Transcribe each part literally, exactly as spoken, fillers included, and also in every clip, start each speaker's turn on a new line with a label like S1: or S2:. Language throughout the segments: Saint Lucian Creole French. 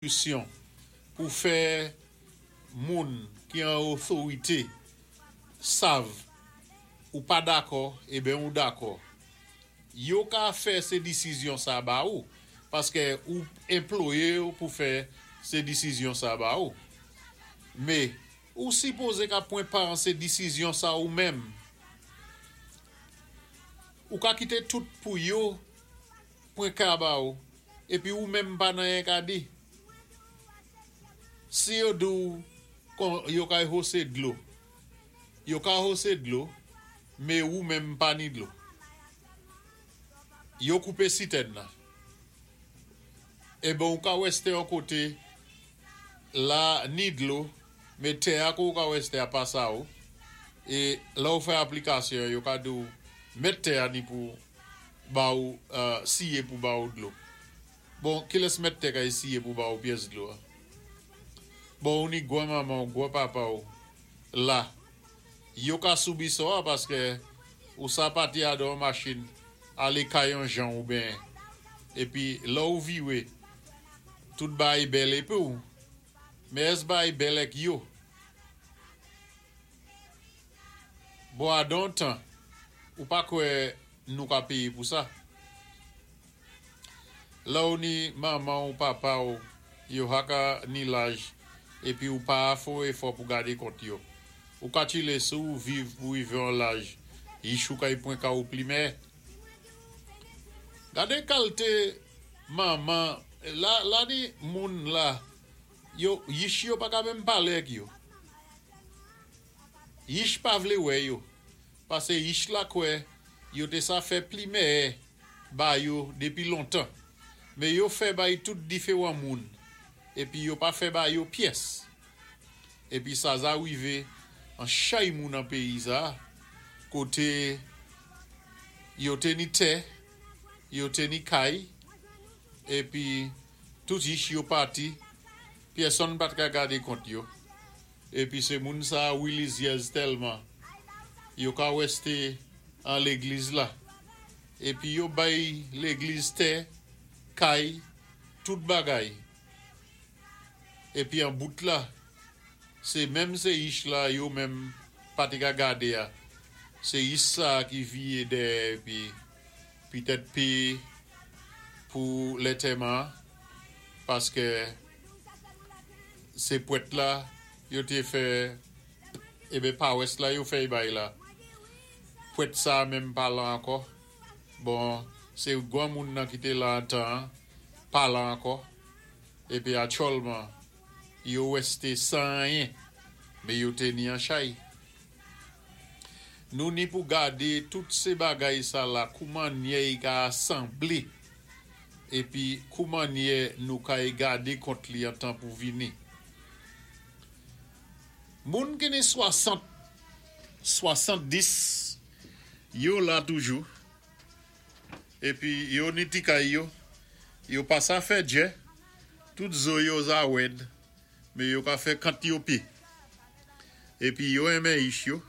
S1: Solisyon pou fè moun ki an otorité sav ou pa dakò, eben ou dakò. Yo ka fè sé disizyon sa ba ou, paské ou anplwayé yo pou fè sé disizyon sa ba ou. Mé, ou sipozé ka pwan pa an sé disizyon sa ou menm. Ou ka kité tout pou yo pwan ka ba ou, épi ou menm pa n'anyen ka di. Si yo di ou yo kay hosé dlo, yo ka hosé dlo, mé ou menm pa ni dlo. Yo koupé sitèn nan. Eben ou ka wèsté yon koté, la ni dlo, mé tè a kou ou ka wèsté a pa sa ou, é la ou fè aplikasyon, yo ka di ou mèt tè a ni pou ba ou, siye pou ba ou dlo. Bon, kilès mèt tè kay siye pou ba ou pyès dlo a? Bon, ou ni gwan manman ou, gwan papa ou, la, yo ka soubi so a paské ou sa pati a don machin, alé kay yon jan ou ben, épi la ou viwé, tout bay bèl épi ou, mé ès bay bèl èk yo? Bon, a don tan, ou pa kwè nou ka péyé pou sa? La ou ni manman ou papa ou, yo haka ni laj, épi ou pa fò éfò pou gadé kont yo. Ou ka chilé sou ou viv pou wivé an laj, yich ou kay pwan ka ou plimè. Gadé kalité manman, la, la ni moun la, yo, yich yo pa ka menm palé ak yo. Yich pa vlé wè yo, pasé yich la kwè, yo té sa fè plimè ba yo dépi lontan. Mé yo fè bay tout diféwan moun, épi yo pa fè ba yo pyès. Épi sa za wivé an chay moun an péyi sa, koté yo té ni tè, yo té ni kay, épi tout yich yo pati, pyèsonn pat ka gadé kont yo. Épi sé moun sa wilizyèz tèlman, yo ka wèsté an légliz la. Épi yo bay légliz tè, kay, tout bagay. Épi an bout la, sé menm sé yich la yo menm pa té ka gadé a. Sé yich sa ki viyé dèyè épi pitèt péyé pou lantèman, paské sé pwèt la yo té fè, eben pawès la yo fè bay la. Pwèt sa menm pa la ankò. Bon, sé gwan moun nan ki té la an tan, pa la ankò. Épi aktyèlman, yo wèsté san anyen, mé yo té ni an chay. Nou ni pou gadé tout sé bagay sa la, kouman nye y ka asanblé, épi kouman nye nou kay gadé kont li an tan pou vini. Moun ki ni swasant, swasanndis, yo la toujou, épi yo ni ti kay yo, yo pa sa fè djè, tout zo yo za wèd, mé yo ka fè kant yo pé. Épi yo enmen yich yo,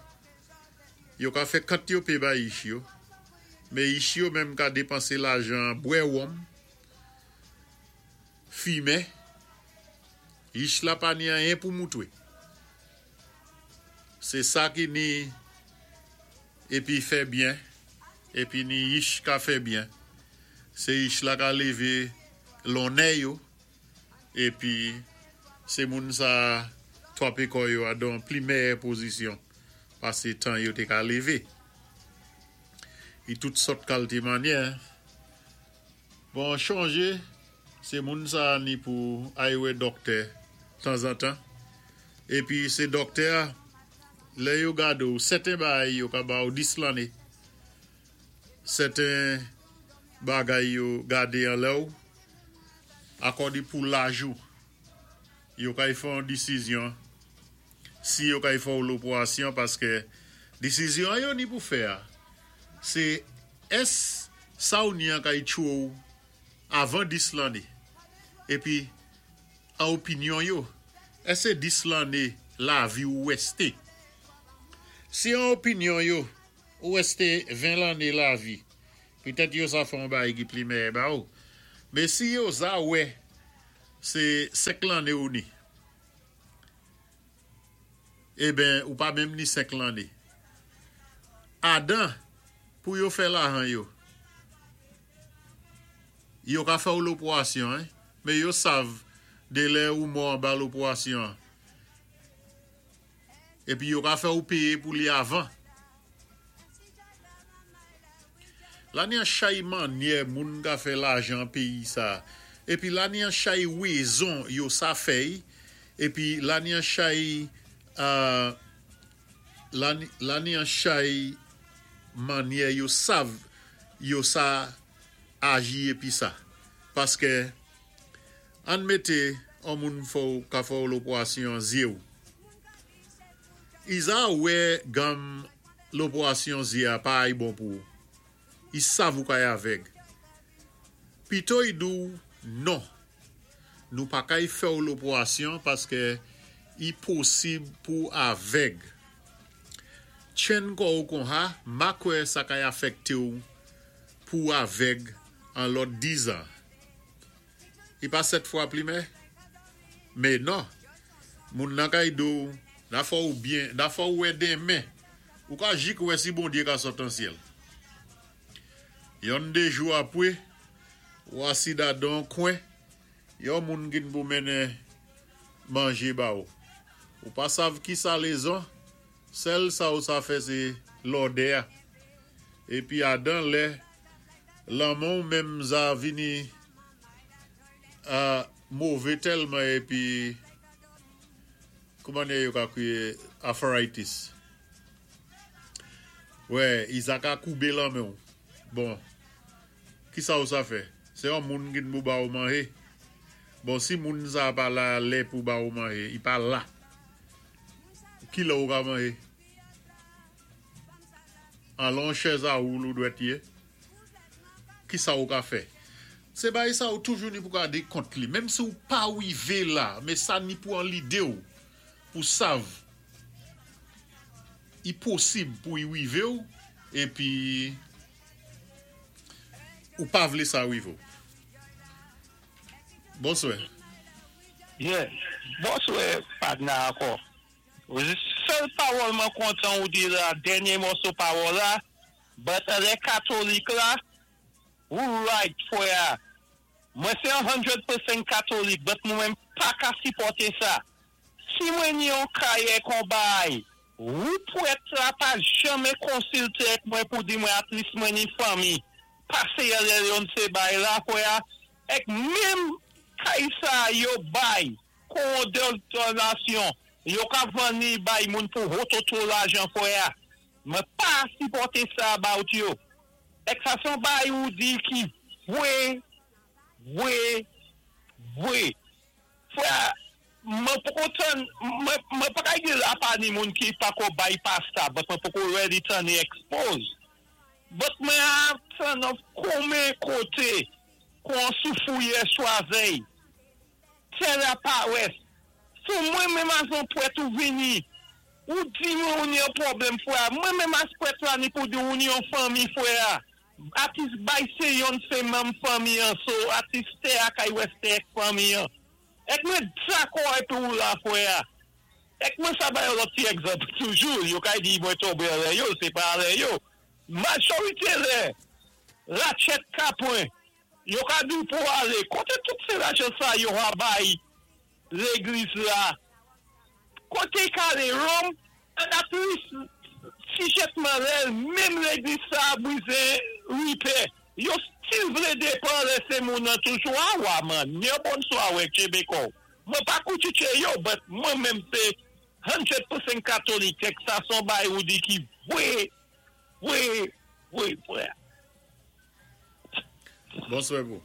S1: yo ka fè kant yo pé ba yich yo, mé yich yo menm ka dépansé lajan bwè wonm, fimen, yich la pa ni anyen pou moutwé. Sé sa ki ni épi fè byen, épi ni yich ka fè byen. Sé yich la ka lévé lonnè yo, épi sé moun sa twapé kò yo a don pli mèyè pozisyon pasé tan yo té ka lévé. I tout sòt kalité mannyè. Bon, chonjé, sé moun sa ni pou ay wè dòktè tanzantan. Épi sé dòktè, lè yo gade ou, sèten bagay yo ka ba ou dis lanné. Sèten bagay yo gade an lè ou, akòdi pou laj ou. Yo kay fè yon disizyon, si yo kay fè ou lopwasyon, paské disizyon yo ni pou fè a, sé ès sa ou ni an kay tchwé ou avan dis lanné. Épi, an opinyon yo, ès sé dis lanné lavi ou wèsté? Si an opinyon yo, ou wèsté ven lanné lavi, pitèt yo sa fè yon bagay ki pli mèyè ba ou. Mé si yo za wè, Sé senk lanné ou ni. Eben, ou pa menm ni senk lanné. Adan, pou yo fè lajan yo. Yo ka fè ou lopwasyon, hein? Mé yo sav dé lè ou mò anba lopwasyon. Épi yo ka fè ou péyé pou li avan. La ni an chay mannyè moun ka fè lajan péyi sa. Épi la ni an chay wézon yo sa fè'y. Épi la ni an chay euh, la, la ni an chay mannyè yo sav yo sa aji épi sa. Paské ann mété an moun fò ka fè lopwasyon zyé ou. I za wè gam lopwasyon zyé a pa ay bon pou ou. I sav ou kay avèg. Pito i di ou non. Nou pa kay fè ou lopwasyon paské i posib pou avèg. Tjenn kò ou kon sa, ma kwè sa kay afèkté ou pou avèg an lòt dizan. I pa sèt fwa plimè? Mé non. Moun nan kay di ou, na fò ou byen, na fò ou wè denmen. Ou ka jik wè si Bondyé ka sot an syèl. Yon dé jou apwé, ou asida dan kwen, yon moun gin pou mennen manjé ba ou. Ou pa sav ki sa lézon, sèl sa ou sa fè sé lòdè a. Épi adan lè, lanmen menm za vini a mové tèlman épi kouman yo ka kwiyé arthritis. Wè, i za ka koubé lanmen ou. Bon, ki sa ou sa fè? Sé yon moun ki pou ba ou manjé. Bon, si moun sa pa la lè pou ba ou manjé, i pa la. Ki lè ou ka manjé? An lon chèz a woul ou dwèt yé. Ki sa ou ka fè? Sé bay sa ou toujou ni pou gadé kont li. Menm si ou pa wivé la, mé sa ni pou an lidé ou, pou sav, i posib pou i wivé ou, épi ou pa vlé sa wivé ou. Bonswè.
S2: Yeah. Bonswè, padna ankò. Sèl pawòl mwen kontan ou di la, dènyé mòso pawòl la, but lè katolik la, ou right, fwè. Mwen sé san katolik, but mwen menm pa ka sipòté sa. Si mwen ni yon kayé kon bay, ou pwèt la pa janmé konsilté ak mwen pou di mwen at least mwen ni fanmi. Pasé yè yon sé bay la, fwè, ek menm kay sa yo bay, kon donasyon, yo ka vanni bay moun pou hototo lajan fwè. Mwen pa sipòté sa about yo. Ek sa son bay ou di ki vwé, vwé, vwé. Fwè, mwen poko tan, mwen, mwen pa kay di la pa ni moun ki pako bypass sa, but mwen poko ready tan ni expose. But mwen a tan of kome kote kon sou fouye chwazey. Tè la pa wès. So mwen menm as an pwèt ou vini, ou di mwen ou ni yon pwoblèm fwè, mwen menm as pwèt la ni pou di ou ni yon fanmi fwè. Atis bay se yon se menm fanmi an, so atis te akay wè se ek fanmi an. Ek mwen dakò epi ou la fwè. Ek mwen sa bay yon lòt ti egzanp toujou, yo kay di mwen tombe lè yo, se pa lè yo. Majorité lè, Ratchet Kapwen, yo ka di pou ale, kote tout se lajan sa yo a bay légliz la, kote kale Rome, an at least, si jetman lè, menm légliz sa brize ripè, yo still vle depan lè se moun nan toujou a wa man, nye bonswa wè Chebeko. Mwen pa koutiche yo, but mwen menm se san pousan katolik, ek sa son bay ou di ki vwe, vwe, vwe, vwe.
S1: Bonswè pou.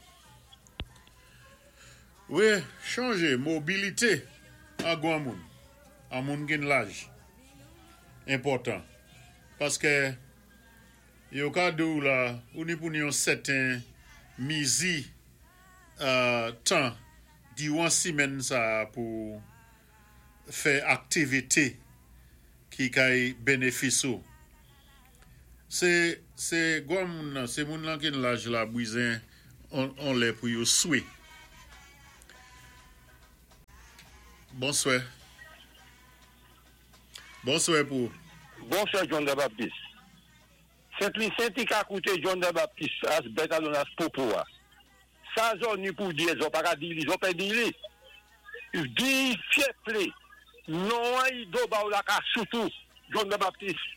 S1: Wè, chanje, mobilité an gwan moun. An moun gen laj. Enpòtan. Paské yo ka di ou la, ou ni pou ni yon sèten mizi euh, tan di wan simen sa pou fè aktivité ki kay benefis ou. Se, se gwan moun nan, se moun lan ken laj la bwizen on, on lè pou yo swe. Bonswè. Bonswè pou.
S3: Bonswè John the Baptist. Sent Lisi ka kouté John the Baptist as better known as Popo a. Sa zò ni pou di, zò pa ka di li, zò pé di li. Di fyeple, non an i do ba ou la ka soutou John the Baptist.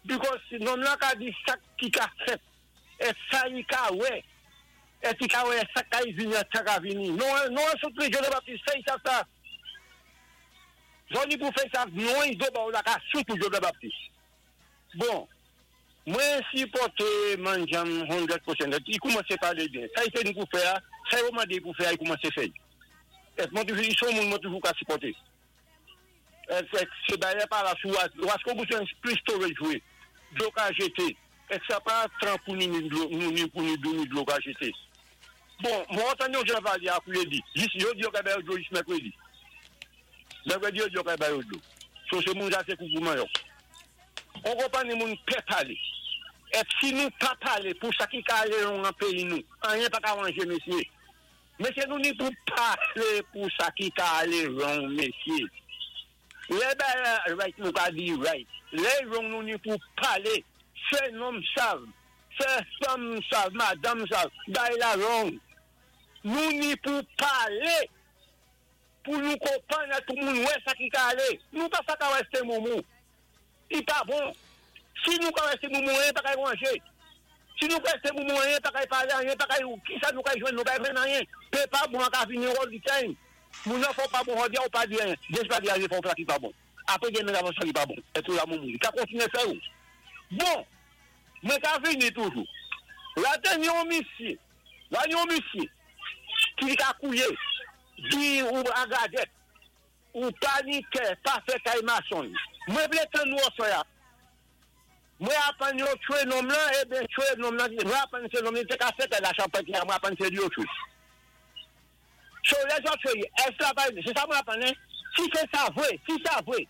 S3: Because nonm la ka di sa ki ka fèt, é sa i ka wè, é i ka wè sa ka i vini an tan ka vini. Non, non an soutni John the Baptist, fè sa sa. Zò ni pou fè sa, non i do ba ou la ka soutou John the Baptist. Bon, mwen sipòté Manjam san pousan. I koumansé palé byen. Sa i fè nou pou fè, sa yo mandé pou fè, i koumansé fè. É mwen toujou, i son moun mwen toujou ka sipòté. Sé dayè pa la sou, wasko bezwen plis storage wè, dlo ka jété. É sa pa tran pou ni dlo, ni pou ni dlo, ni dlo ka jété. Bon, mwen antann yon jan valya pou yo di, jis yo di yo ka bay yo dlo jis mèkwédi. Mèkwédi yo di yo ka bay yo dlo. So sé moun sa sé koukouman yo. On konpwann ni moun pè palé. É si nou pa palé pou sa ki ka alé wrong an péyi nou, anyen pa ka wanjé, mesyé. Mesyé, nou ni pou palé pou sa ki ka alé wrong, mesyé. Lè bagay right nou ka di right. Lè wrong nou ni pou palé. Fè nonm sav, fè fanm sav, madanm sav, bagay la wrong. Nou ni pou palé pou nou konpwann tout moun wè sa ki ka alé. Nou pa sa ka wè moumou. I pa bon. Si nou ka wè moumou, anyen pa ka wanjé. Si nou ka wè moumou, anyen pa ka palé, anyen pa ka ki sa nou ka jwenn, nou pa jwenn anyen. Pé pa bon ka vini all the time. Moun nan fò pa bon, di ou pa di anyen. Des pa di anyen fò ki pa bon. Apwé gen nan sa ki pa bon. É tou la moumou. Ka kontiné fè ou. Bon, mwen ka vini toujou. La ten yon misye, la yon misye, ki ka kouyé, di ou agadèt, ou panikè, pa fè kay mason. Mwen vlé tann nou oswa. Mwen apann yo tchwé nonm lan, é ben tchwé nonm lan, mwen apann sé nonm lan, sé ka fè la chanpèt mwen apann sé li yo tchwé. So lè zòt tchwé, èske la pa, sé sa mwen apann, hein? Si sé sa vwé, si sa vwé,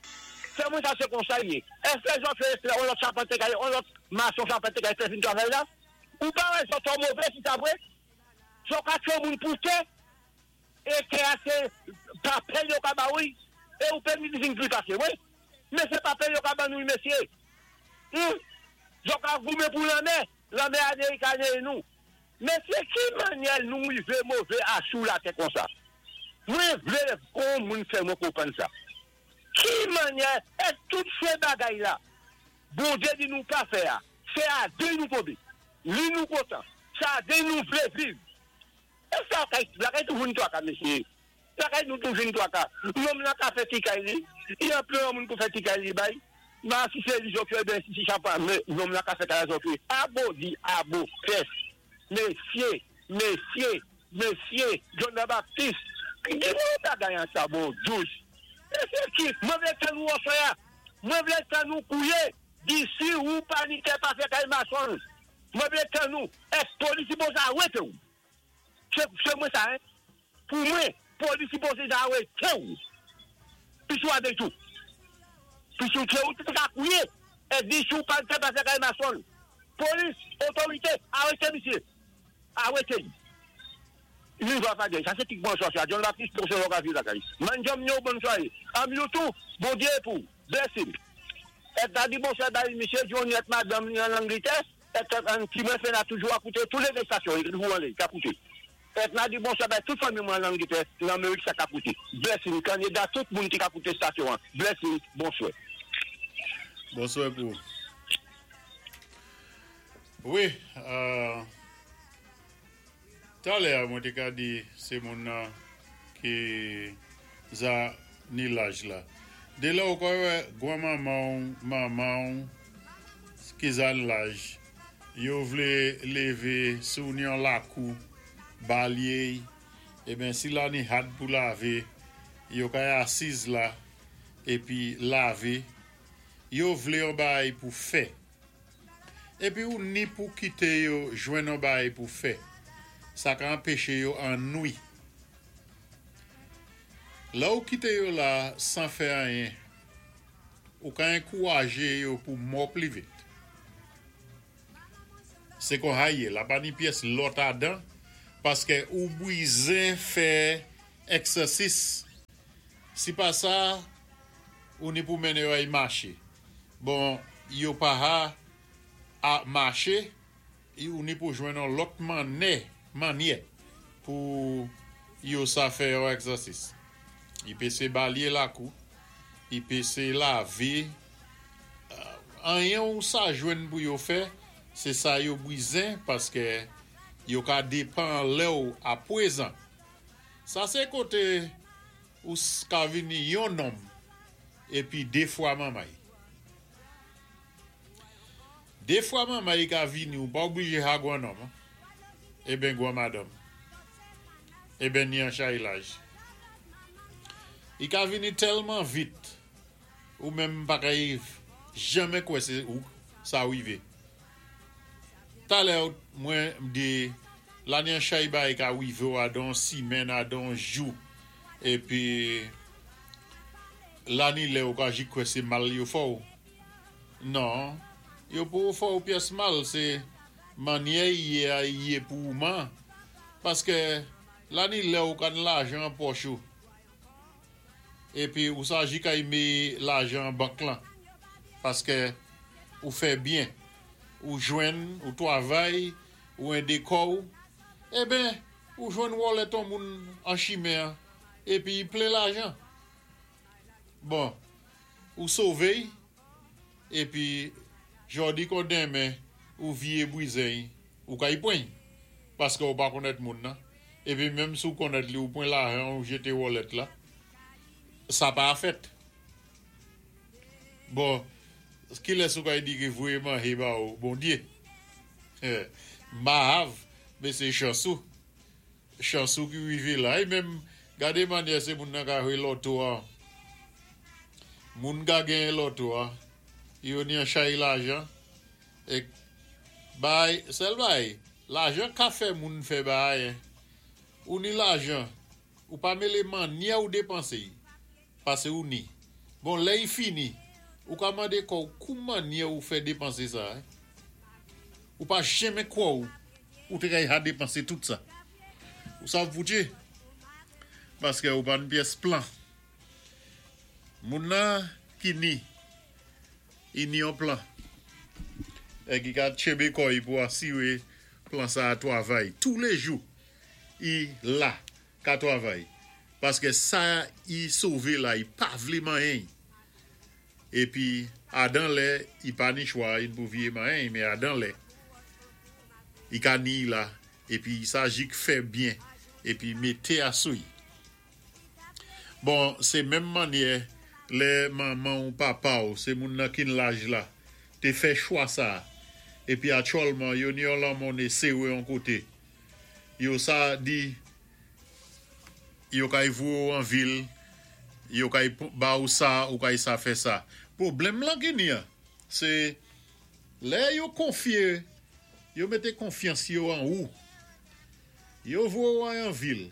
S3: fè mwen sa sé konsa yé. Èske zòt tchwé, on lòt chapantye kay, on lòt mason chapantye kay fè fin travay la? Ou pa wè zòt twò mové si sa vwé? Zòt ka tchwé moun pou tè, é tè a sé papèl yo ka ba ou, é ou pé vin pli pasé, wi? Men sé papèl yo ka ban nou, mesyé. Hmm? Zòt ka goumen pou lanmè, lanmè Amerik nou. Men sé ki mannyè nou rivé mové asou latè konsa? Mwen vlé kon moun fè mwen konpwann sa. Ki mannyè, é tout sé bagay la, Bondyé di nou pa fè a, sé a dé nou tonbé, li nou kontan, sa dé nou vlé viv. É sa, lakay toujou ni twaka, mesyé. Lakay nou toujou ni twaka. Nonm la ka fè ti kay li, i an plen moun pou fè ti kay li bay. Ma si sé li zòt ben si si chapa, men nonm la ka fè kay zòt Abo di abo, fès. Mesyé, mesyé, mesyé, John the Baptist, di mwen bagay an sa bon, dous. É sé ki, mwen vlé tann nou oswa, mwen vlé tann nou kouyé, di si ou panikè pa fè kay mason. Mwen vlé tann nou, é polis sipozé arété ou. Sé sé mwen sa, hein? Pou mwen, polis sipozé arété ou. Pi sou avèk tou. Pi sou tchwé ou, tout ka kouyé. É di si ou panikè pa fè kay mason. Polis, otorité, arété misyé. Arété. Li va pa gen. Sa sé tik bonswa sa. John Baptiste pou se wak la kay. Manjam yo bonswa. Am yo tou, Bondyé pou. Blessing. É ta di bonswa bay misyé Johnny é madanm ni an Angletè, é an ki mwen fè na toujou a kouté tous les stations, il toujou an lé, ka kouté. É na di bonswa bay tout fanmi mwen an Angletè, nan Amerik sa ka kouté. Blessing, Kanada, tout moun ki ka kouté stasyon an. Blessing, bonswa.
S1: Bonswa pou. Wi, euh, talè mwen té ka di sé moun nan ki za ni laj la. Dé la ou ka wè gwanmanman, manman ki za laj, yo vlé lévé sou ni an lakou, balyé, é ben si la ni had pou lavé, yo ka asiz la, épi lavé, yo vlé yon bay pou fè. Épi ou ni pou kité yo jwenn yon bay pou fè. Sa ka anpéché yo annwi. La ou kité yo la san fè anyen, ou ka ankourajé yo pou mò pli vit. Sé kon haye, la pa ni pyès lòt adan, paské ou bwizén fè ègsèsis. Si pa sa, ou ni pou mennen yo ay maché. Bon, yo pa ha a maché, ou ni pou jwenn yon lòt mannyè, mannyè pou yo sa fè yo egzèsis. I pé sé balyé lakou, i pé sé lavé, anyen ou sa jwenn pou yo fè, sé sa yo bizen paské yo ka dépan lè ou apwézan. Sa sé koté ou ka vini yon nonm épi dé fwa manmay. Dé fwa manmay ka vini ou pa oblijé ha gwan nonm, eben gwan madanm. Eben ni an chay laj. I ka vini tèlman vit ou menm pa kay janmen kwè sé ou sa wivé. Talè mwen di la ni an chay bay ka wivé ou adan simèn, adan jou épi la ni lè ou ka jis kwè sé mal yo fè ou. Non, yo pou fè ou pyès mal, sé mannyè yé a yé pou ouman paské la ni lè ou kan lajan pòch ou. Épi ou sa jis kay mé lajan bank lan paské ou fè byen, ou jwenn, ou twavay, ou édé kò ou, eben, ou jwenn wallet on moun an chimen épi plen lajan. Bon, ou sové, épi jòdi kon denmen ou vyé bwizen, ou kay pwen, paské ou pa konnèt moun nan. Épi menm si ou konnèt li ou pwan lajan ou jété wallet la, sa pa fèt. Bon, ki lè sou kay di ki vouye manje ba ou, Bondyé. Mahav, mé sé chansou. Chansou ki wivé la. É menm, gadé mannyè sé moun nan ka jwé loto a. Moun ka genyen loto a, yo ni an chay lajan. É bay, sèl bay, lajan ka fè moun fè bay. Ou ni lajan, ou pa mélé mannyè ou dépansé, pasé ou ni. Bon, lè i fini, ou ka mandé kò kou mannyè ou fè dépansé sa. Ou pa janmen kwè ou, ou té kay ha dépansé tout sa. Ou sav poutché? Paské ou pa ni pyès plan. Moun nan ki ni, i ni yon plan. É ki ka tchenbé kò i pou asiwé plan sa a twavay. Tou lé jou, i la ka twavay. Paské sa i sové la, i pa vlé manyen. Épi, adan lè, i pa ni chwa, i pou vyé manyen, mé adan lè, i ka ni la, épi sa jis fè byen, épi mété asouy. Bon, sé menm mannyè, lè manman ou papa ou, sé moun nan kin laj la, té fè chwa sa, épi aktyèlman, yo ni yon lamonné séwé yon koté. Yo sa di, yo kay voyé ou an vil, yo kay ba ou sa, ou kay sa fè sa. Pwoblèm lan ki ni an, sé lè yo konfyé, yo mété konfyans yo an ou. Yo voyé ou an vil,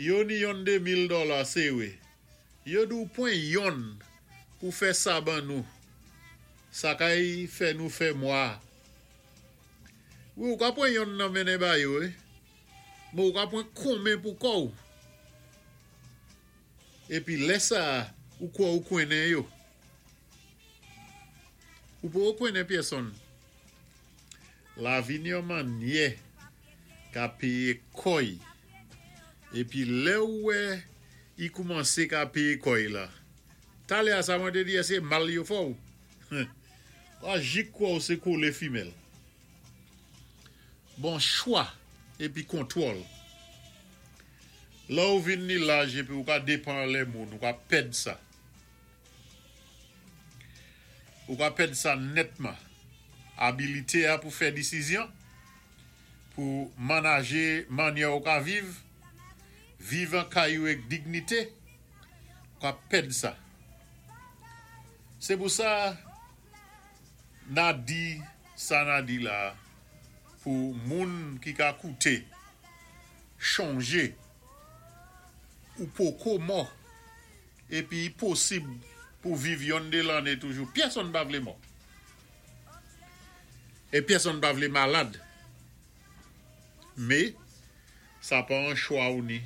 S1: yo ni yon dé mil dola séwé. Yo di ou pwan yon pou fè sa ban nou. Sa kay fè nou fè mwa. Wi, ou ka pwan yon nan mennen ba yo, eh? Mé ou ka pwan konmen pou kò ou. Épi lè sa, ou kwè ou konnen yo. Ou pou ou konnen pèsonn. Lavi ni yon mannyè ka péyé kò i. Épi lè ou wè, i koumansé ka péyé kò i la. Talè a sa mwen té di, sé mal yo fè ou. A jis kwè ou sé kolé fimèl. Bon chwa épi kontwòl. La ou vin ni laj épi ou ka dépan lè moun, ou ka pèd sa. Ou ka pèd sa nètman. Abilité a pou fè désizyon, pou manajé mannyè ou ka viv, viv an kay ou ek dignité, ou ka pèd sa. Sé pou sa, na di, sa na di la, pou moun ki ka kouté, chanjé, ou poko mò, épi posib pou viv yon dé lanné toujou. Pèsonn pa vlé mò. É pèsonn pa vlé malad. Mé, sa pa an chwa ou ni.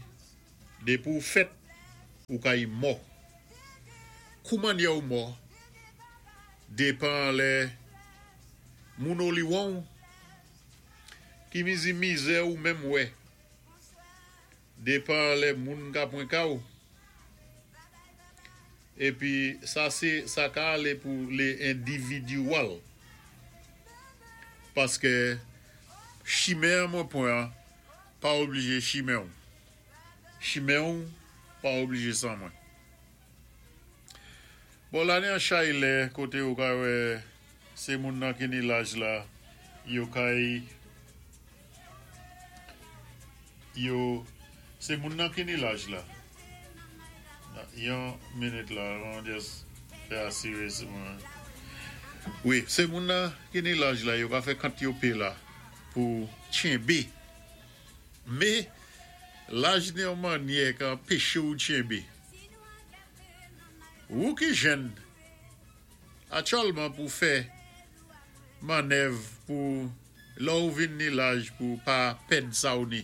S1: Dépi ou fèt, Ou kay mò. Kouman ou mò, dépan lè moun oli won, ki mizi mizè ou menm wè, dépan lè moun ka pwen ka ou. Épi sa sé sa ka alé pou lé individual. Paské chimen mwen pwan pa oblijé chimen ou. Chimen ou pa oblijé san mwen. Bon, la ni an chay lè koté ou ka wè sé moun nan ki ni laj la, yo kay yo sé moun nan ki ni laj la. Yon minit la, on just fè asiré sé mwen. Wi, sé moun nan ki ni laj la, yo ka fè kant yo pé la pou tchenbé. Mé laj ni yon mannyè ka anpéché ou tchenbé. Ou ki jèn, aktyèlman pou fè mannèv pou lè ou vin ni laj pou pa pèd sa ou ni.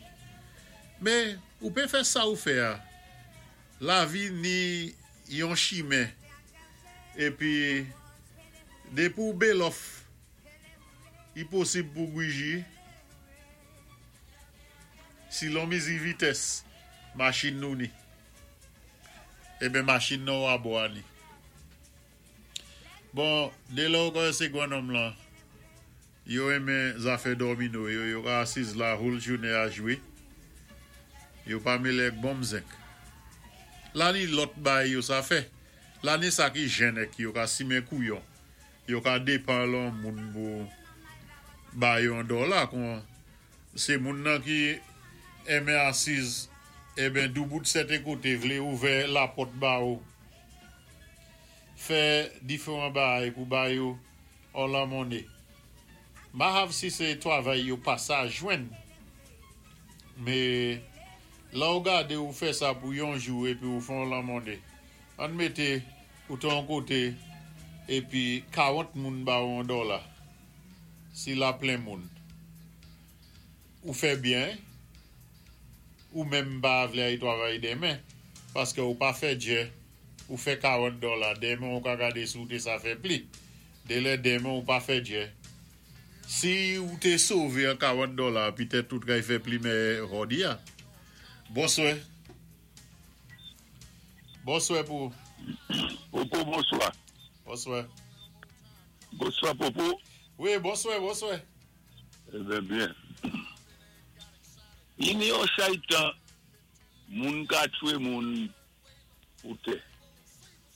S1: Mé ou pé fè sa ou fè a. Lavi ni yon chimen. Épi dépi ou bélòf, i posib pou gwiji. Si lò mizi vitès, machin nou ni. Eben machin nou abò a ni. Bon, dé lè ou kwè sé gwan-nonm lan, yo enmen zafè domino, yo yo ka asiz la houl jounen a jwé. Yo pa mélé ak bonm zenk. La ni lòt bay yo sa fè. La ni sa ki jèn ek yo ka simen kouyon. Yo ka dépan lon moun pou bay yon dola kon sé moun nan ki enmen asiz eben doubout sèten koté vlé ouvè lapòt ba ou. Fè diféwan bay pou bay yo an la monné. Mahav si sé twavay yo pa sa jwenn. Mé la ou gadé ou fè sa pou yon jou épi ou fon la monné. An mété ou ton koté épi karant moun ba ou an dola. Si la plen moun. Ou fè byen, ou menm pa vlé ay twavay denmen, paské ou pa fè djè, ou fè karant dola, denmen ou ka gadé si ou té sa fè pli. Dé lè denmen ou pa fè djè. Si ou té sové an karant dola, pitèt tout kay fè pli mé jòdi a. Bonswè. Bonswè pou.
S3: Popo, bonswa.
S1: Bonswè.
S3: Bonswa, Popo.
S1: Wi, bonswè, bonswè.
S3: Eben byen. Ini yon chaytan, moun ka tchwé moun pou tè.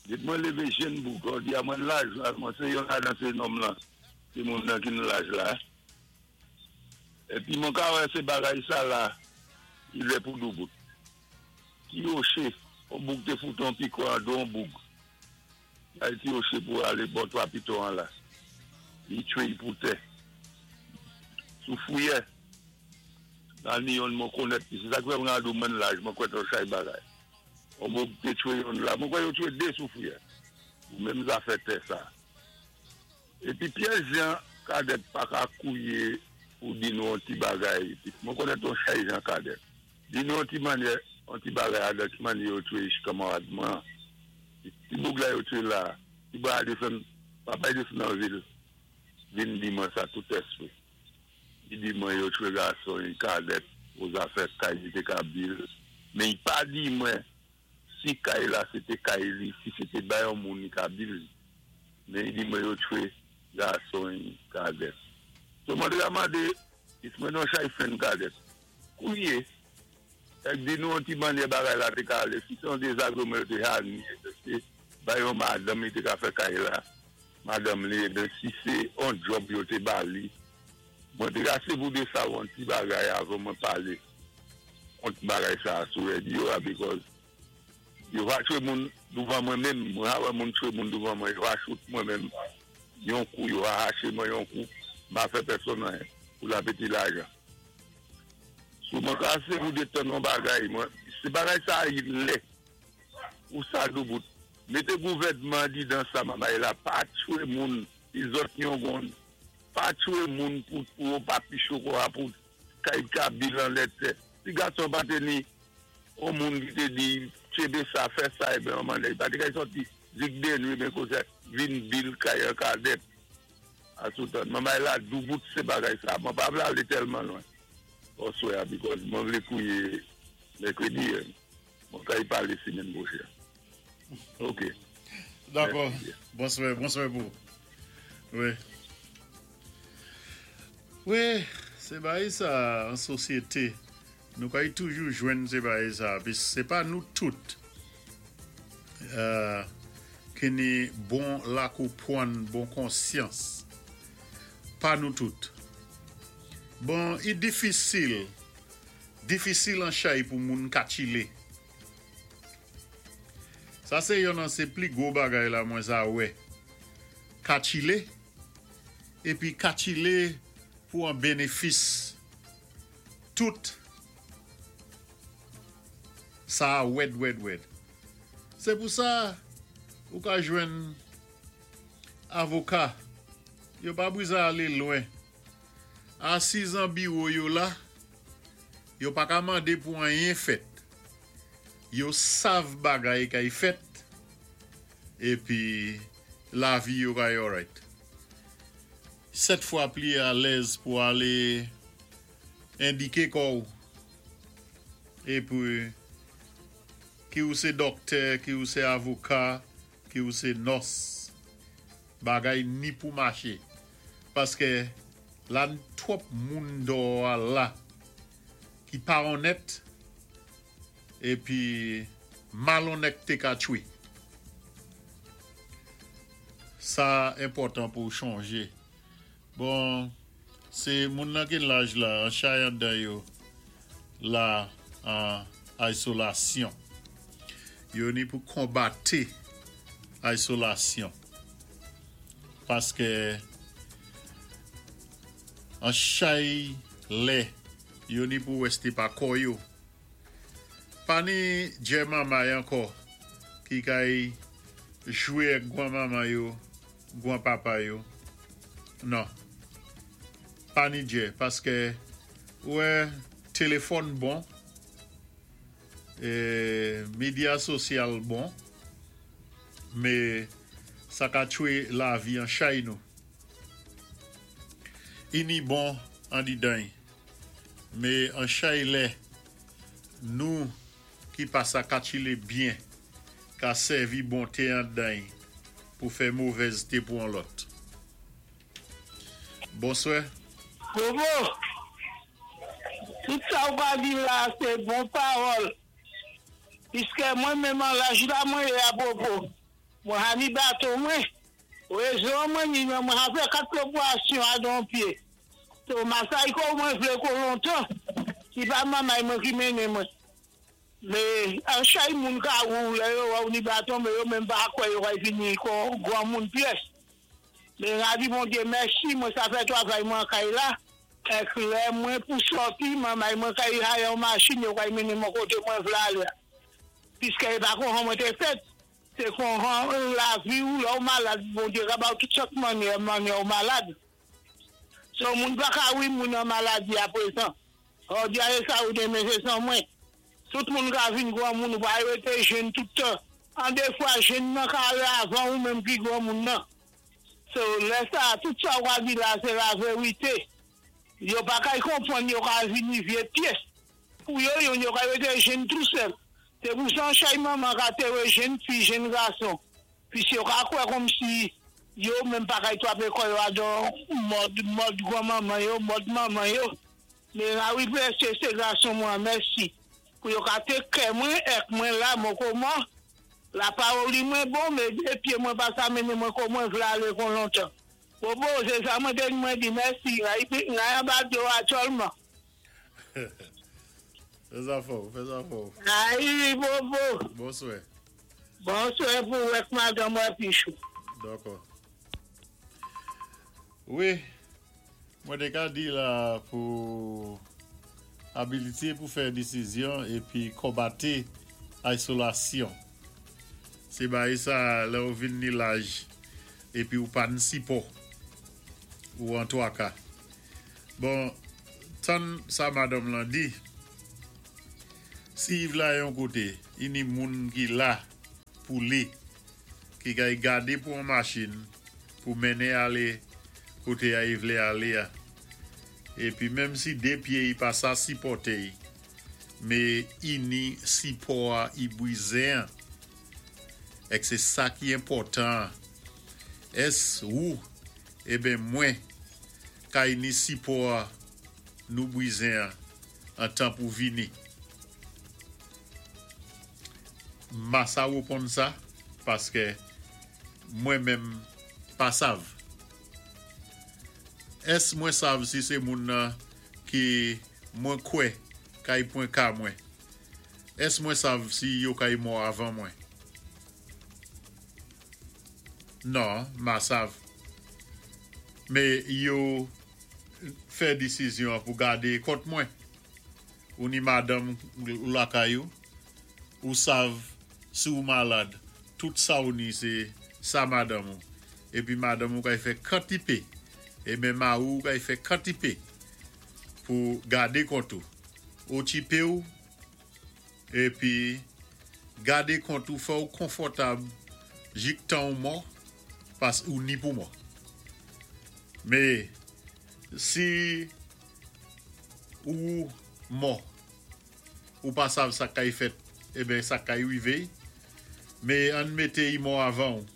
S3: Dit mwen lévé jèn boug, di a mwen laj la, mwen sé yon la dan sé nonm lan, sé moun nan ki nan laj la. Épi mwen ka wè sé bagay sa la, i lè pou doubout. Ti yoché, on boug té fout an piko an do on boug. La ti yoché pou alé bò twa piton an la. Li tchwé yi pou tè. Sou fouyè, nan ni yon mwen konèt, sé sa k fè mwen adou mwen laj, mwen kwè ton chay bagay. On boug té tchwé yon la, mwen kwè yo tchwé dé sou fouyè. Ou menm zafè tè sa. Épi Pierre Jean Cadet pa ka kouwé ou di nou an ti bagay. Mwen konèt ton chay Jean Cadet. Di nou an ti mannyè, an ti bagay a ki mannyè yo tchwé kanmarad mwen. Ti boug la yo tchwé la, ti ba de fèm, papa de fèm nan vil, vin di mwen sa tout espri. I di mwen yo tchwé gason, yon Cadet, ou zafè kay li té ka bil. Mé i pa di mwen, si kay la sété kay li, si sété bay yon moun li ka bil. Mé i di mwen yo tchwé gason, yon Cadet. So mwen te mandé, is mwen non chay fen Cadet. Kouwé, ek di nou an ti mannyè bagay la té ka alé, si son dézagréman yo té hani, sé bay yon madanm li té ka fè kay la, madanm li, eben si sé on job yo té ba li, mwen té ase pou de sa an ti bagay avan mwen palé, an ti bagay sa sou radio a, because yo va tchwé moun douvan mwen menm, mwen a wè moun tchwé moun douvan mwen, yo va shoot mwen menm, yon kou, yo va haché mwen yon kou, ma fè pèsonn anyen, pou la péti lajan. Sou mwen ka ase pou de ton non bagay, mwen, sé bagay sa yi lè, ou sa doubout. Mété gouvèdman di dan sa mamay la, pa tchwé moun, i zòt yon gon, pa tchwé moun pou pou papi choko a pou kay ka bilan lè tè. Si gason pa té ni, on moun ki té di, Tchébé sa, fè sa, ébyen, manman, pa té kay sòti, zik dé nwit, ben konsa, vin bil kay an kadèt. A soutan. Manman la, doubout sé bagay sa. Mwen pa vlé alé tèlman lwen. Bonswa, because mwen vlé kouwé mèkrèdi, mwen kay palé simenn pwochèn. OK.
S1: Dakò. Bonswa, bonswa pou. Wi. Wi, sé bagay sa an sosyété. Nou kay toujou jwenn sé bagay sa. Pi sé pa nou tout euh, ki ni bon lakonpwann, bon konsyans. Pa nou tout. Bon, i difisil. Difisil an chay pou moun katchilé. Sa sé yon nan sé pli gwo bagay la mwen sa wè. Katchilé. Épi katchilé pou an bénéfis tout sa wèd wèd wèd. Sé pou sa ou ka jwenn avoka. Yo pa bizwen alé lwen. Asiz an biwo yo la, yo pa ka mandé pou anyen fèt. Yo sav bagay kay fèt, épi lavi yo kay alright. Sèt fwa pli alèz pou alé endiké kò ou. Épi ki ou sé dòktè, ki ou sé avoka, ki ou sé nòs, bagay ni pou maché. Paské la twòp moun dò la ki pa onnèt épi malonnèt ka tchwé. Sa enpòtan pou chanjé. Bon, sé moun nan ki laj la, an chay andan yo, la an izolasyon. Yo ni pou konbat izolasyon. Paské an chay lè, yo ni pou wèsté pa kò yo. Pa ni djè manmay ankò ki kay jwé ak gwan manman yo, gwan papa yo. Non. Pa ni djè, paské wè téléfòn bon, é medya sosyal bon, mé sa ka tchwé lavi an chay nou. I ni bon an didan, mé an chay lè nou ki pa sa katchilé byen, ka sèvi bonté an dan pou fè movèzté pou an lòt. Bonswa.
S2: Bobo, tout sa ou ka di la, sé bon pawòl. Piskè mwen menm an laj la mwen yé apwopo. Mwen ha ni baton mwen. Rézon mwen ni mwen ha fè kat lopwasyon a don pyé. So masay ko mwen vlé ko lontan. Si pa mamay mwen ki mennen mwen. Mé an chay moun ka ou lè yo ou ni baton, mé yo menm pa kwè yo kay vini kon gwan moun pyès. Mé nga di Bondyé mèsi, mwen sa fè twavay mwen kay la. Ek lè mwen pou sòti, mamay mwen kay hay an machin, yo kay mennen mwen koté mwen vlé alé. Piskè é pa kon mwen té fèt. Sé kon lavi ou la ou malad, Bondyé ka ba ou tout sòt mannyè, mannyè ou malad. So moun pa ka wi moun an maladi aprezan. Or di a sa ou demen sé san mwen. Tout moun ka vin gwan moun ou pa rété jèn tout tan. An dé fwa jèn nan ka alé avan ou menm pi gwan moun nan. So lè sa, tout sa ou ka di la, sé la vérité. Yo pa kay konpwann yo ka vini vyé pyès. Pou yo yon yo ka rété jèn tout sèl. Sé pou sa chay manman ka té wè jèn fi, jèn gason. Pi si yo ka kwè kòm si yo menm pa kay twapé kò yo adan mòd, mòd gwan manman yo, mòd manman yo. Mé la wi prèské sé gason mwen, mèsi. Pou yo ka té kè mwen, ek mwen la, mwen kouman. La pawòl mwen bon, mé dé pyé mwen pa sa mennen mwen kon mwen vlé alé kon lontan. Bobo, sé sa mwen té mwen di mèsi, nga yon bat yo aktyèlman.
S1: Fè sa fò, fè sa fò.
S2: Ayi, Bobo.
S1: Bonswa.
S2: Bonswa pou wèk madan mwen pichou.
S1: Dakò. Wi, mwen té ka di la pou abilité pou fè désizyon épi konbat izolasyon. Sé bagay sa lè ou vin ni laj épi ou pa ni sipò ou an twaka. Bon, tan sa madanm lan di, Si i la yon koté, i ni moun ki la pou li, ki kay gadé pou an machin, pou mennen alé koté a i vlé alé a. Épi menm si dé pyé i pa sa sipòté, mé i ni sipò a i bizwen. Èk sé sa ki enpòtan. Ès ou, eben mwen, kay ni sipò a nou bizwen an tan pou vini. Ma sa wéponn sa, paské mwen menm pa sav. Ès mwen sav si sé moun nan ki mwen kwè kay pwan ka mwen? Ès mwen sav si yo kay mò avan mwen? Non, ma sav. Mé yo fè désizyon pou gadé kont mwen. Ou ni madanm ou lakay ou, ou sav si ou malad, tout sa ou ni sé sa madanm ou. Épi madanm ou kay fè kantipé, eben mari ou kay fè kantipé pou gadé kont ou. Okipé ou, épi gadé kont ou, fè ou konfòtab jik tan ou mò, pas ou ni pou mò. Mé si ou mò, ou pa sav sa kay fèt, eben sa kay wivé, mé ann mété i mò avan ou.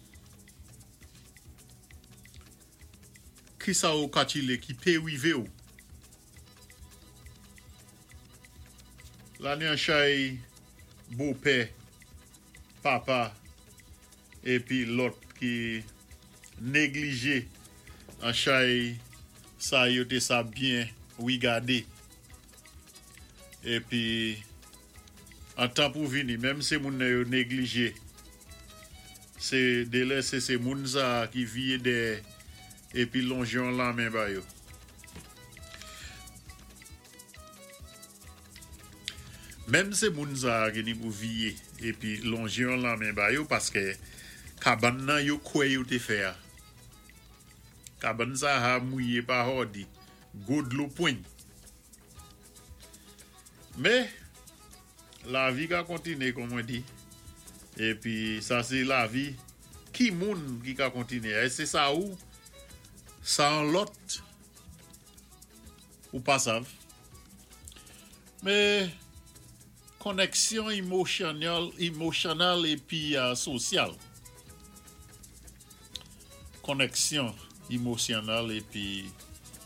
S1: Ki sa ou katchilé ki pé wivé ou? La ni an chay bopè, papa, épi lòt ki néglijé an chay sa yo té sa byen wigadé. Épi an tan pou vini, menm sé moun nan yo néglijé, sé délè sé sé moun sa ki viyé dèyè épi lonjé yon lamen ba yo. Menm sé moun sa ki ni pou viyé épi lonjé yon lamen ba yo paské kabann nan yo kwè yo té fè a. Kabann sa a mouyé pa hòdi, gwo dlo pwin. Mé lavi ka kontiné kon mwen di. Épi sa sé lavi ki moun ki ka kontiné. Èske sé sa ou sa an lòt ou pa sav. Mé koneksyon émosyonnèl, émosyonnèl épi euh, sosyal. Koneksyon émosyonnèl épi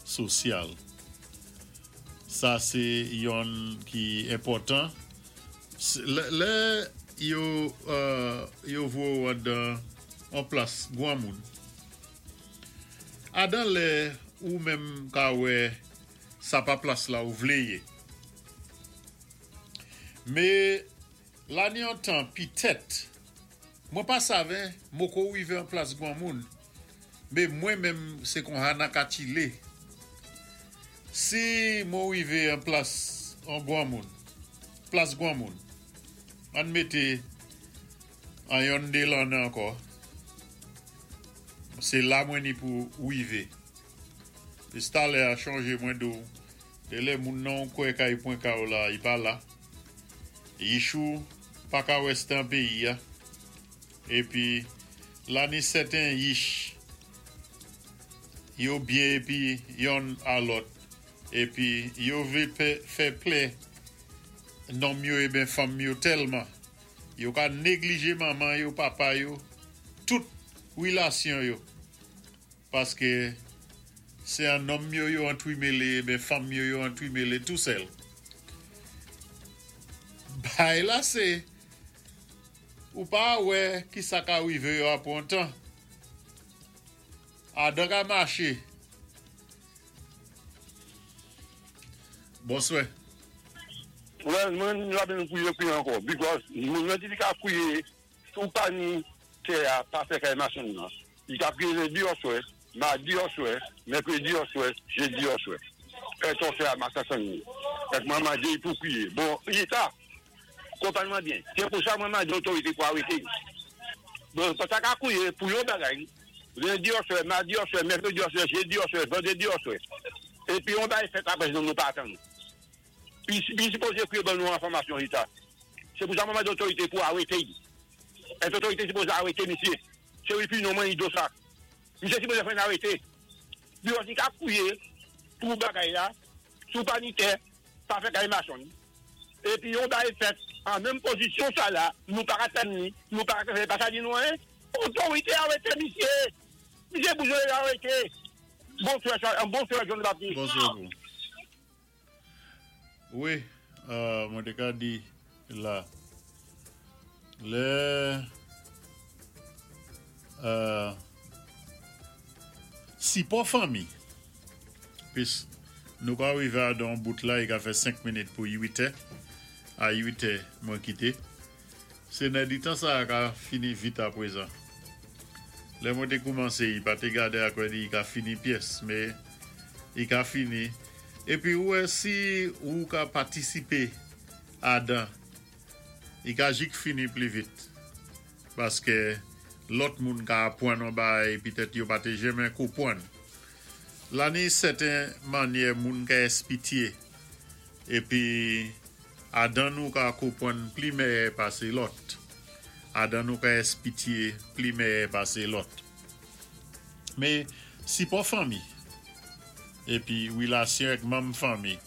S1: sosyal. Sa sé yonn ki enpòtan. Lè, lè yo euh, yo voyé ou dan an plas gwanmoun. Adan lè ou menm ka wè sa pa plas la ou vlé yé. Mé la ni an tan pitèt mwen pa savè moko wivé an plas gwanmoun. Mé mwen menm sé kon sa na katchilé. Si mwen wivé an plas an gwanmoun, plas gwanmoun, ann mété an yon dé lanné ankò. Sé la mwen ni pou wivé. Estalè a chanjé mwen do. Dé lè moun nan kwè kay pwan ka ou la, i pa la. Yichou pa ka wè an péyi a. Épi la ni sèten yich yo byen épi yonn a lòt. Épi yo vlé fè plè nonm yo eben fanm yo tèlman. Yo ka néglijé manman yo, papa yo, tout wilasyon yo. Paské sé an nonm yo yo antwimélé, eben fanm yo yo antwimélé tou sèl. Bay la sé ou pa wè ki sa ka wivé yo apwé an tan. Adan ka maché. Bonswè.
S3: Well, mwen la ben kouye kouye ankò. Because moun nan di li ka kouye sou pa ni tè a pa fè kay machin nan. Li ka kouye lendi oswè, madi oswè, mèkredi oswè, jédi oswè. E ton fè a masasan ni. Èk mwen mandé pou kouye. Bon, Leta, konpwann mwen byen. Sé pou sa mwen mandé otorité pou arété. Bon, pa sa ka kouye pou yon bagay, lendi oswè, madi oswè, mèkredi oswè, jédi oswè, vandrédi oswè. Épi on bay fèt apwé nou nou pa atann. Pi, pi sipozé kouye ban nou enfòmasyon Leta. Sé pou sa mwen mandé otorité pou arété. Otorité sipozé arété misyé. Sé opinyon mwen do sa. Misyé sipozé fè arété. Li osi ka fouyé pou bagay la, sou pa ni tè, pa fè kay machann. Épi yon bagay fèt an menm pozisyon sa la, nou pa atann ni, nou pa fè pa sa di nou hein. Otorité arété misyé. Misyé bezwen arété. Bonswa, bonswa John Baptiste.
S1: Bonswa. Wi, euh, mwen té ka di la, lè euh, sipò fanmi, pis nou ka rivé a don bout la, i ka fè senk minit pou uit è, a uit è mwen kité. Sé nan di tan sa ka fini vit aprezan. Lè mwen té koumansé, i pa té gadé akò di i ka fini pyès, mé i ka fini. Épi wè, si ou ka patisipé adan, i ka jik fini pli vit. Paské lòt moun ka apwann on bagay, pitèt yo pa té janmen konpwann. La ni sèten mannyè moun ka èspitié. Épi adan nou ka konpwann pli mèyè pasé lòt. Adan nou ka èspitié pli mèyè pasé lòt. Mé sipò fanmi, épi wilasyon ak manm fanmi,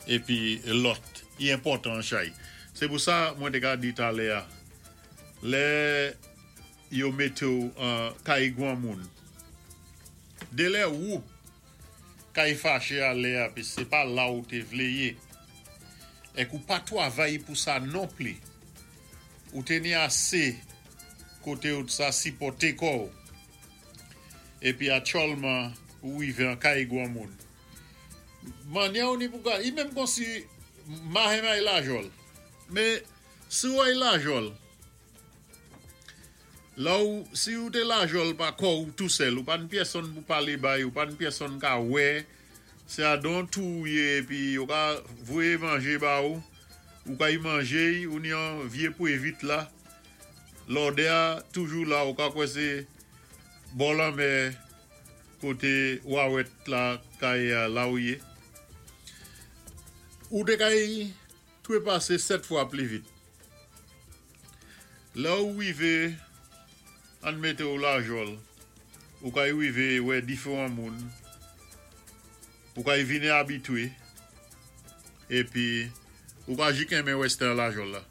S1: épi lòt, i enpòtan chay. Sé pou sa mwen té ka di talè a, lè yo mété ou an kay gwan moun. Dé lè ou kay faché a lè a, pi sé pa la ou té vlé yé. Èk ou pa twavay pou sa non pli. Ou té ni asé koté ou sa sipòté kò ou. Épi aktyèlman ou wivé an kay gwan moun. Mannyè ou ni pou ka, i menm kon si mahen ay Lajòl. Mé si ou ay Lajòl, la ou, si ou té Lajòl pa kò ou tou sèl, ou pa ni pyèsonn pou palé bay, ou pa ni pyèsonn ka wè, sé adan tou yé, épi yo ka voyé manjé ba ou, ou ka y manjé, ou ni an vyé pou évit la, lodè a toujou la, ou ka kwè sé bò lanmè koté wawèt la kay la ou yé. Ou té kay twépasé sèt fwa pli vit. La ou wivé, an mété ou Lajòl, ou kay wivé wè diféwan moun, ou kay vini abitwé, épi ou ka jik enmen wèstè Lajòl la.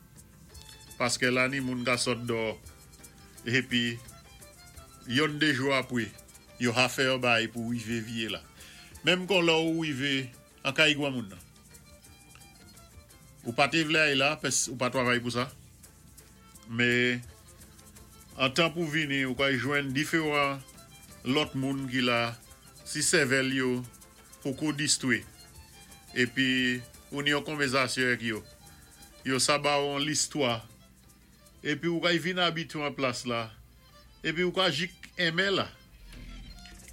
S1: Paské la ni moun ka sot dò, épi yon dé jou apwé, yo ha fè yon bay pou wivé vyé la. Menm kon la ou wivé an kay gwan moun nan. Ou pa té vlé ay la, pès ou pa twavay pou sa. Mé an tan pou vini, ou kay jwenn diféwan lòt moun ki la, si sèvèl yo poko distwé. Épi ou ni yon konvèzasyon ak yo. Yo sa ba ou an listwa. Épi ou kay vin abitwé an plas la. Épi ou ka jik enmen la.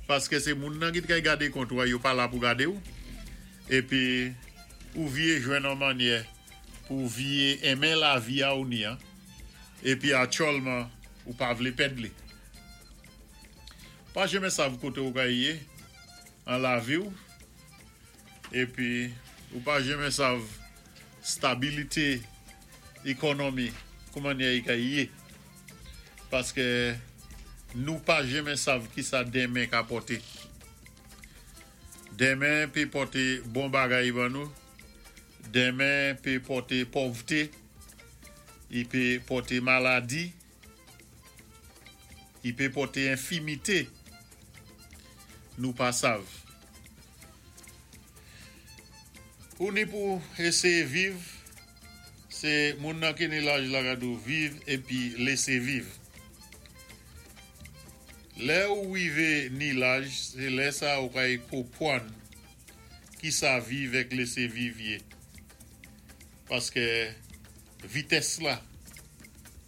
S1: Paské sé moun nan ki té kay gadé kont ou, yo pa la pou gadé ou. Épi ou vyé jwenn an mannyè pou vyé enmen lavi a ou ni an. Épi aktyèlman ou pa vlé pèd li. Pa janmen sav koté ou ka yé an lavi ou. Épi ou pa janmen sav stabilité ékonomi kouman y ka yé. Paské nou pa janmen sav ki sa denmen ka pòté. Denmen pé pòté bon bagay ban nou. Denmen pé pòté pòvté. I pé pòté maladi. I pé pòté enfimité. Nou pa sav. Ou ni pou éséyé viv, sé moun nan ki ni laj la ka di ou viv épi lésé viv. Lè ou wivé ni laj, sé lè sa ou kay konpwann ki sa viv èk lésé viv yé. Paské vitès la,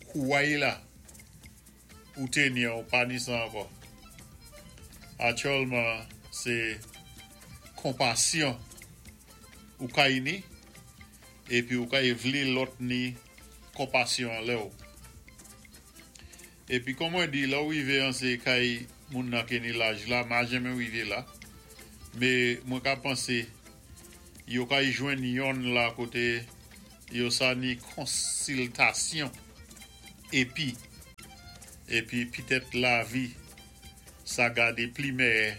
S1: kouway la, ou té ni ou pa ni sa ankò. Aktyèlman, sé konpasyon ou kay ni, épi ou kay vlé lòt ni konpasyon lè ou. Épi kon mwen di, la ou wivé an sé kay moun nan ki ni laj la, ma janmen wivé la, mé mwen ka pansé, yo kay jwenn yon la koté Yo sa ni konsiltasyon épi épi pitèt lavi sa gadé pli mèyè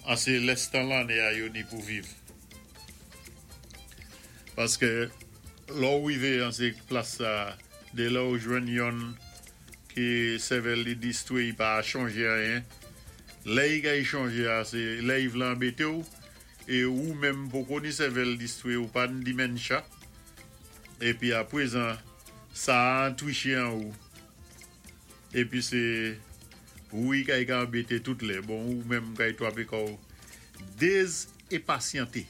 S1: an sé lèstan lanné a yo ni pou viv. Paské lò ou wivé an sé plas sa, dé lè ou jwenn yonn ki sèvèl li distwé, i pa chanjé anyen. Lè i kay chanjé a, sé lè i vlé anbété ou, é ou menm poko ni sèvèl distwé ou pa ni dementia. Épi apwézan, sa an twiché an ou. Épi sé ou i kay ka anbété tout lè. Bon, ou menm kay twapé kò dézenpasyanté.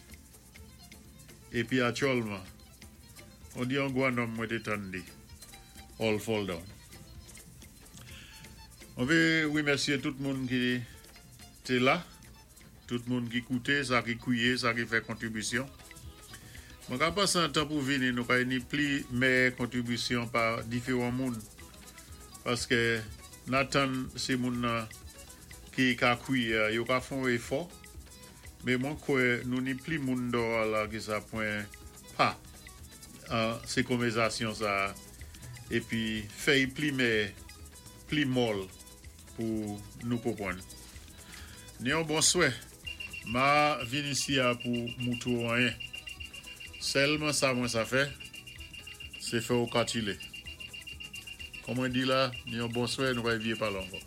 S1: Épi aktyèlman, on di an gwan nonm mwen té tandé. All fall down. On vé wimèsyé tout moun ki té la, tout moun ki kouté, sa ki kwié, sa ki fè kontribisyon. Mwen ka pasé an tan pou vini, nou kay ni pli mèyè kontribisyon pa diféwan moun. Paské nan sé moun nan ki ka kwié, yo ka fon éfò, mé mwen kwè nou ni pli moun dò la ki sa pwan pa an sé konvèzasyon sa épi fè i pli mèyè, pli mòl pou nou konpwann. Ni yon bonswè, ma vin isi a pou moutou anyen. Sèlman sa mwen sa fè, sé fè ou katilé. Kon mwen di la, ni yon bonswè, nou kay vyé palé ankò.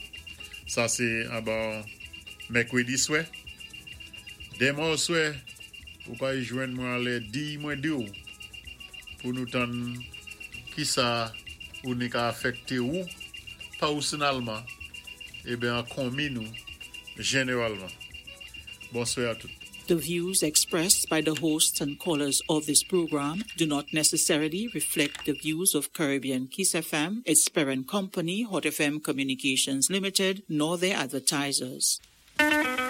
S1: Sa sé anba mèkwédi swè. Denmen oswè, ou kay jwenn mwen alè di mwen di ou, pou nou tann ki sa ou ni ka afèkté ou, pèsonèlman, ében an konmi nou, jénéwalman. Bonswè a tout.
S4: The views expressed by the hosts and callers of this program do not necessarily reflect the views of Caribbean Kiss F M, its parent company, Hot F M Communications Limited, nor their advertisers.